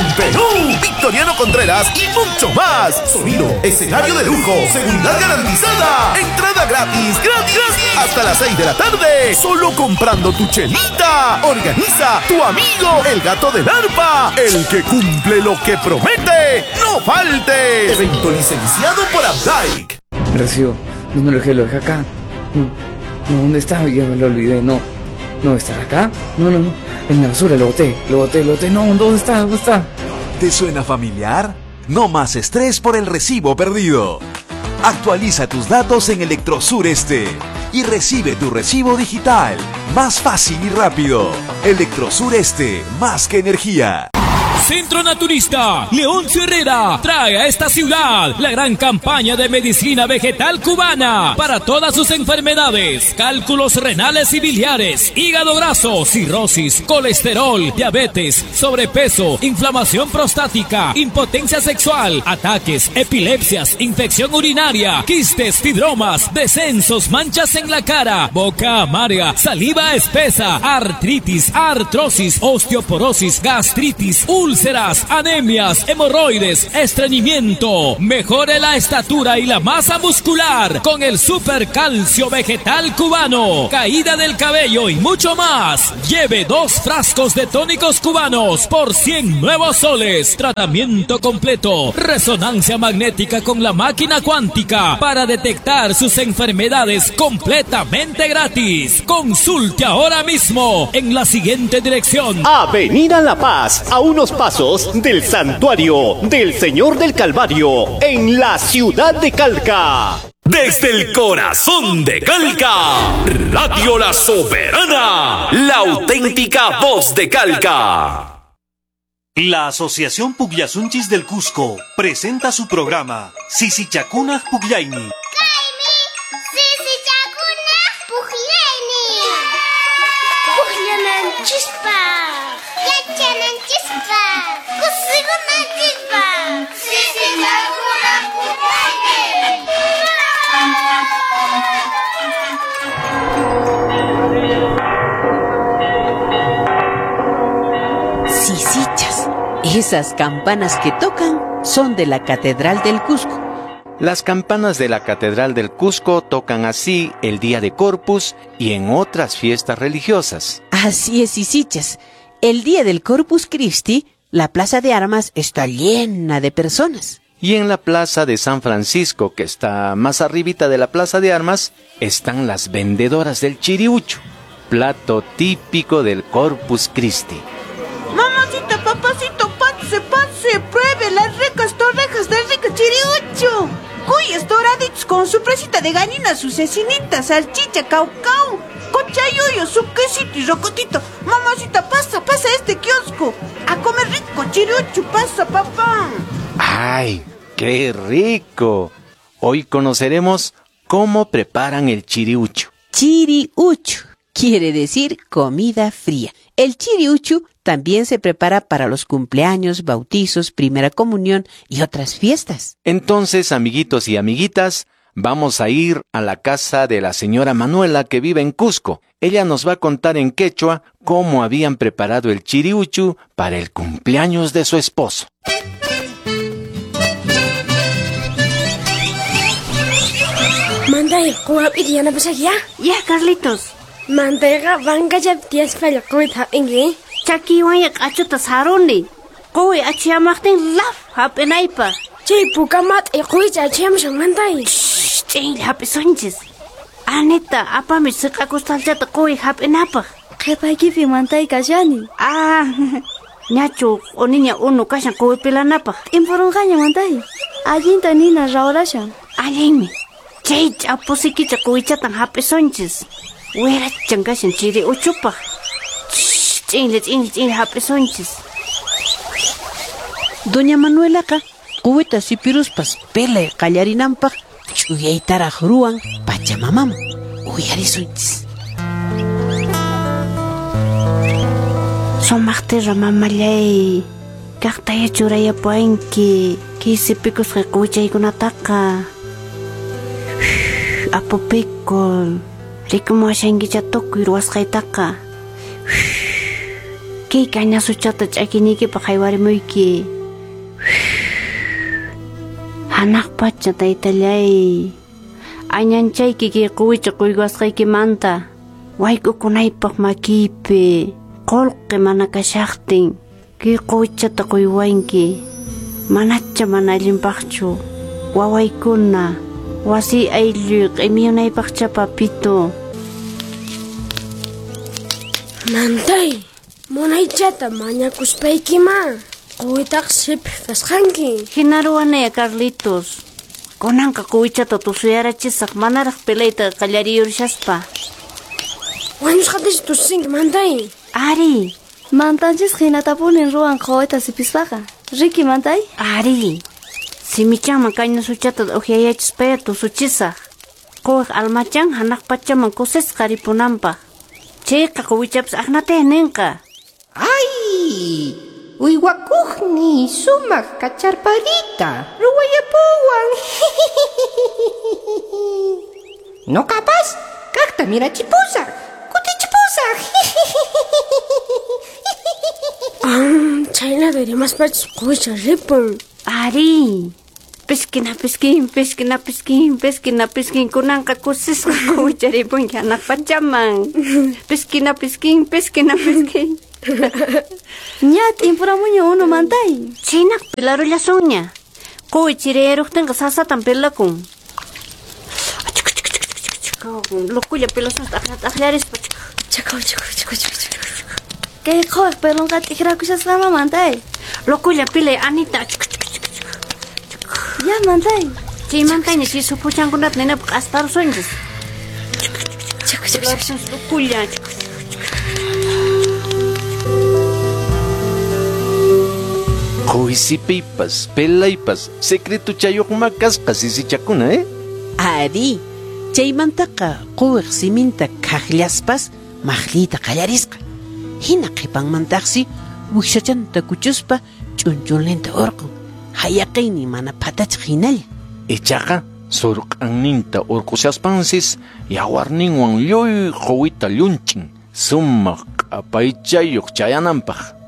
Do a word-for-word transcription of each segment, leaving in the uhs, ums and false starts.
del Perú, Victoriano Contreras y mucho más. Sonido, escenario de lujo, seguridad garantizada, entrada gratis, gratis, gratis, hasta las seis de la tarde, solo comprando tu chelita. Organiza tu amigo, el gato del arpa, el que cumple lo que promete. ¡No falte! Evento licenciado por Abdaik. Recibo, no lo dejé, lo dejé acá. No, no, ¿dónde está? Ya me lo olvidé, no. No, ¿estará acá? No, no, no. En la basura, lo boté, lo boté, lo boté. No, ¿dónde está? ¿Dónde está? ¿Te suena familiar? No más estrés por el recibo perdido. Actualiza tus datos en Electrosur Este y recibe tu recibo digital. Más fácil y rápido. Electrosur Este, más que energía. Centro Naturista Leoncio Herrera trae a esta ciudad la gran campaña de medicina vegetal cubana para todas sus enfermedades, cálculos renales y biliares, hígado graso, cirrosis, colesterol, diabetes, sobrepeso, inflamación prostática, impotencia sexual, ataques, epilepsias, infección urinaria, quistes, fibromas, descensos, manchas en la cara, boca amarga, saliva espesa, artritis, artrosis, osteoporosis, gastritis, úlceras, úlceras, anemias, hemorroides, estreñimiento. Mejore la estatura y la masa muscular con el super calcio vegetal cubano, caída del cabello y mucho más. Lleve dos frascos de tónicos cubanos por cien nuevos soles. Tratamiento completo, resonancia magnética con la máquina cuántica para detectar sus enfermedades completamente gratis. Consulte ahora mismo en la siguiente dirección: Avenida La Paz, a unos pasos del Santuario del Señor del Calvario, en la ciudad de Calca. Desde el corazón de Calca, Radio La Soberana, la auténtica voz de Calca. La Asociación Pugllasunchis del Cusco presenta su programa Sisichacuna Pugllayni. Sisichas, esas campanas que tocan son de la Catedral del Cusco. Las campanas de la Catedral del Cusco tocan así el día de Corpus y en otras fiestas religiosas. Así es, sisichas. El día del Corpus Christi, la Plaza de Armas está llena de personas. Y en la Plaza de San Francisco, que está más arribita de la Plaza de Armas, están las vendedoras del chiriucho, plato típico del Corpus Christi. Mamacita, papacito, pase, pase, pruebe las ricas torrejas del rico chiriucho. Cuyes doraditos con su presita de gallina, su cecinita, salchicha, caucao, cochayuyo, su quesito y rocotito. Mamacita, pasa, pasa a este kiosco. A comer rico chiriucho, pasa, papá. ¡Ay, qué rico! Hoy conoceremos cómo preparan el chiriucho. Chiriucho quiere decir comida fría. El chiriucho también se prepara para los cumpleaños, bautizos, primera comunión y otras fiestas. Entonces, amiguitos y amiguitas, vamos a ir a la casa de la señora Manuela, que vive en Cusco. Ella nos va a contar en quechua cómo habían preparado el chiriuchu para el cumpleaños de su esposo. Manday, quwap'ita yanapashaq ya? Ya, Carlitos. Mantayqa vankallapi tiyasqalla quwita hap'inki. Chakiwanya q'achuta saruni. Quwi achiyamaqtin laf hap'inaypaq. Chay puka mat'i quwicha achiyamushan mantay. Ch'inlla hap'isunchis. Anita, apami siq'akustalchata quwi hap'inapaq. Qhipaykipi mantay kashani. Ah, ñachu q'uniña unu kashan quwi pilanapaq. T'impuronqaña mantay. Allinta nina rawrashan. Allinmi. Chay ch'apusikicha quwichatan hap'isunchis. Wirachan kashan chiri uchupaq. Ch'inlla, ch'inlla, ch'inlla hap'isunchis. Doña Manuelaqa quwita sipiruspas pelay qallarinanpaq ch'uyaytaraq ruwan Pachamamaman. Uyarisunchis. Sumaqtira mamallay, kaqtaya churayapuwanki kay sipikusqa quwichaykunataqa. Apupikul, rikumuwashankicha tukuy ruwasqaytaqa. Kay kañasuchata ch'akiniykipaq haywarimuyki. Hanaq pacha taytallay. Añanchayki kay quwicha quywasqaykimanta. Wayk'ukunaypaq makiypi qullqi mana kashaqtin. Kay quwichata quywanki. Manacha mana allinpaqchu. Wawaykuna wasi aylluy q'imiyunaypaqcha papito. Mantay, munaychata mañakuspaykima quwitaq siphi kasqanki. Hina ruwanaya Carlitos. Kunanqa quwichata tusuyarachisaq manaraq pilayta qallariyurishaspa. Wañusqatachu tusinki mantay? Ari. Mantanchis hinatapunin ruwan quwita sipispaqa. Riki mantay? Ari. Simichanman kañasuchata uqyayachispaya tusuchisaq. Quwiq almachan hanaq pachaman kusisqa ripunanpaq. Chayqa quwichapas aqnatay ninqa. ¡Ay! Uywakuqni sumaq kacharparita ruwayapuwan. Noqapas kaqta mirachipusaq, kutichipusaq. Ah, chhaynata rimaspachus quwicha ripun. Ari. Piskin piskin piskin piskin piskin piskin kunanqa kusisqa quwicha ripunki hanaq pachaman. Piskin piskin piskin piskin. Ña t'impuramuña unu mantay. Chhaynaq pilarullasunña. Quwi chiriyaruqtinqa sasatan pilakun. Lokulla pilasun t'aqllarispa. Chakaw chakaw chakaw chakaw. Kay quwiq pelonqa t'ikrakushasqama mantay. Lokulla pilay Anita. Ya mantay. Chaymantaña chay supuchankunata ninapaq q'asparusunchis. Chakaw chakaw lokulla. Quwi sipiypas, pelaypas, secretuchayuqma kasqa sisichakuna, eh? Ari, chaymantaqa quwiq siminta khaqllaspas maqlliyta qallarisqa. Hina qhipanmantaqsi wiksachanta kuchuspa ch'unchulninta urqun. Hayaqaynin mana phatachiq hinalla. Ichaqa surq'anninta urqushaspansis yawarninwan lluy quwita llunchin sumaq q'apaychayuq chayananpaq.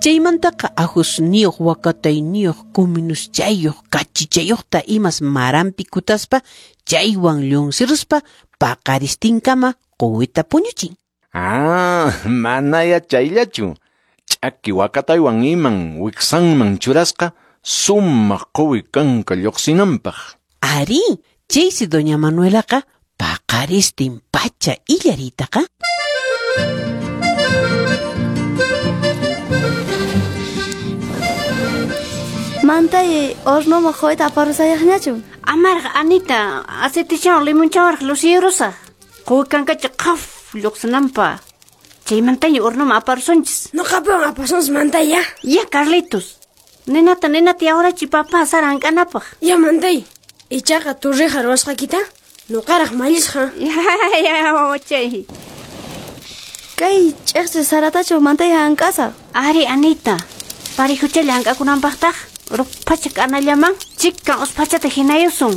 Chaymantaqa ajusniyuq wakatayniyuq kuminuschayuq kachichayuqta imas maranpi kutaspa chaywan llunsiruspa paqaristinkama quwita puñuchin. Ah, manaya chayllachu. Ch'aki wakataywan iman wiksanman churasqa sumaq quwi kanka lluqsinanpaq. Ari, chaysi doña Manuelaqa paqaristin pacha illaritaqa. Mantay, hornoman quwita aparusayaqñachu? Amaraq Anita, aceitichawan limonchawanraq lusiyurusaq. Quwi kankacha qhaf lluqsinanpaq. Chaymantaña hornoman aparusunchis. Noqapiwan apasunchis mantay ya. Ya Carlitos. Ninata ninata yawrachi papa sara hank'anapaq. Ya mantay. Ichaqa torreja ruwasqaykita noqaraq mallisqa. Ya ya wawachay. Kay ch'iqchi saratachu mantay hank'asaq? Ari Anita. Parihuchalla hank'akunanpaqtaq ruphacha k'anallaman chikan uspachata hinayusun.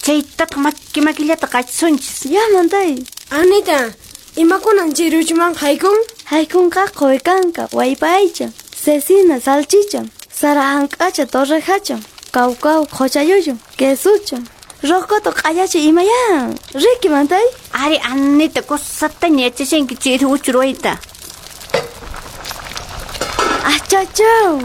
Chaytataq maki makillata qachisunchis. Ya mantay. Anita, imakunan chiriuchuman haykun? Haykunqa quwi kanka, wallpa aycha, cecina, salchicha, sara hank'acha, torrejacha, kawkaw, qhuchayuyu, quesucha, rocoto q'allacha imaya. Riki mantay. Ari Anita, kusataña yachashanki chiriuchu ruwayta. Achachaw.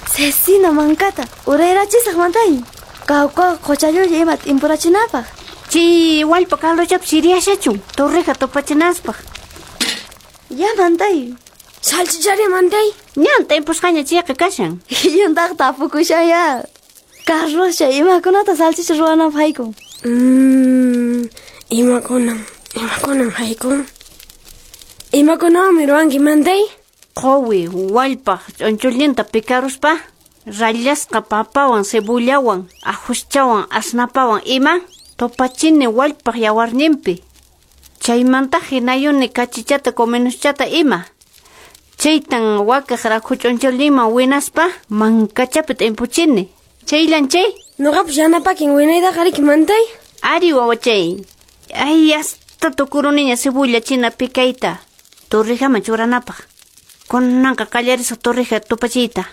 Cecina mankata urayrachisaq mantay. Kawkaw qhuchayuyu ima t'impurachinapaq. Chay wallpa caldochapi siriyashachun torreja tupachinanpaq. Ya mantay. Salchichari mantay. Ñan t'impusqaña chayqa kashan. Yuntaq tapukushan ya. Carloscha imakunata salchicha ruwananpaq haykun. Mm, imakunan, imakunan haykun. Imakunawanmi ruwanki mantay? Quwi wallpaq ch'unchulninta pikaruspa rallasqa papawan cebullawan ajuschawan asnapawan ima tupachini wallpaq yawarninpi. Chaymanta hinayuni kachichata comenuschata ima. Chaytan wakaq rakhu ch'unchulninman winaspa mankachapi t'impuchini. Chayllan chay. Noqapas yanapakin winaytaqa riki mantay? Ari wawachay. Ay, hasta tukuruniña cebulla china pikayta. Torrejaman churanapaq. Kunanqa qallarisaq torreja tupachiyta.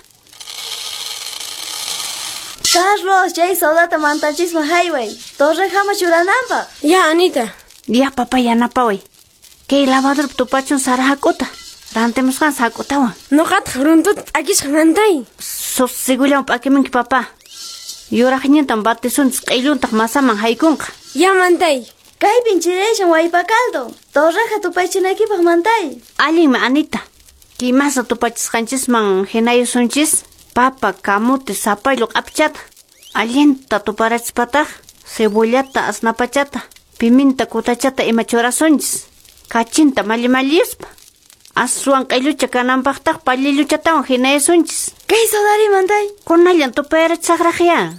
Carlos, chay sodata mantanchisman hayway. Torrejama churananpaq. Ya, Anita. Ya, papá, yanapaway. Kay lavadorpi tupachun sara hak'uta. Rantimusqan hak'utawan. Nuqataq runtuta p'akisaq mantay. Susigullan p'akimunki, papá. Yuraqñintan batisunchis q'illuntaq masaman haykunqa. Ya, mantay. Kaypin chiraysan waypa caldo. Torreja tupachinaykipaq mantay. Allinmi, Anita. Kay masa tupachisqanchisman hinayusunchis papa, kamote, zapallo q'apichata. Allinta tuparachispataq cebollata, asnapachata, piminta, kutachata ima churasunchis. Kachinta malli-malliyuspa. Aswan q'illucha kananpaqtaq pallilluchatawan hinayasunchis. Kay sodari mantay. Kunallan tupayarachisaqraq ya.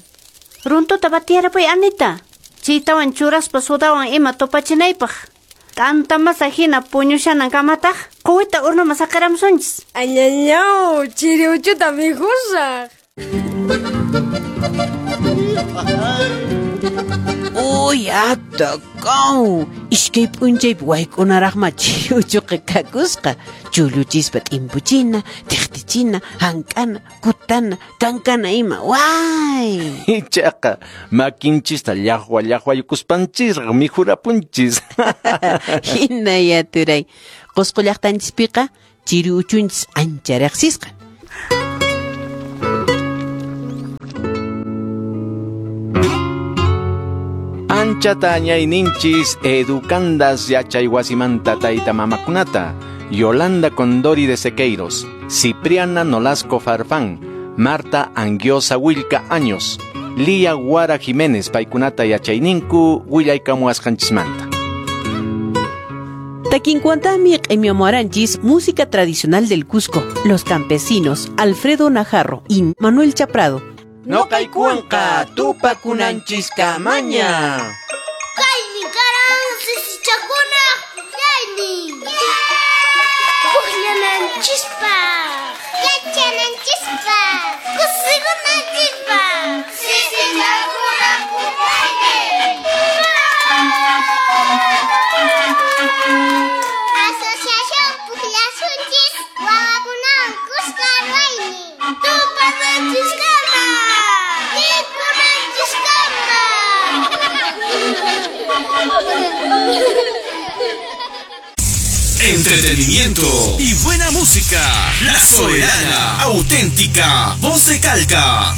Runtuta batiyarapuy, Anita. Chaytawan churaspa sodawan ima tupachinaypaq. T'anta masa hina puñushanankamataq quwita hornoman saqiramusunchis. Añañaw, chiri uchuta mikhusaq. Uy, atakaw! Iskay p'unchaypi wayk'unaraqma chiri uchuqa kakusqa. Chulluchispa t'impuchina, tiqtichina, hank'ana, kutana, kankana ima. Way! Ichaqa makinchista llaqwa llaqwaykuspanchisraq mikhurapunchis. Hinaya turay. Qusqu llaqtanchispiqa chiri uchunchis ancha riqsisqa. Anchata añayninchis educandas yachaywasimanta tayta mamakunata, Yolanda Condori de Sequeiros, Cipriana Nolasco Farfán, Marta Anguiosa Wilca Años, Lía Guara Jiménez paykunata yachayninku willaykamuwasqanchismanta. Takinkuantami q'imiamuaranchis música tradicional del Cusco, Los Campesinos, Alfredo Najarro y Manuel Chaprado. Noqaykuwanqa tupakunanchiskamaña. Kaymi karan sisichakunaq pukllaynin. Pukllananchispaq, yachananchispaq, kusikunanchispaq. Sisichakunaq pukllaynin. Asociación Pukllasunchis wawakunawan kuska ruwaynin. Tupananchiskama. Entretenimiento y buena música. La Soberana, auténtica, voz de Calca.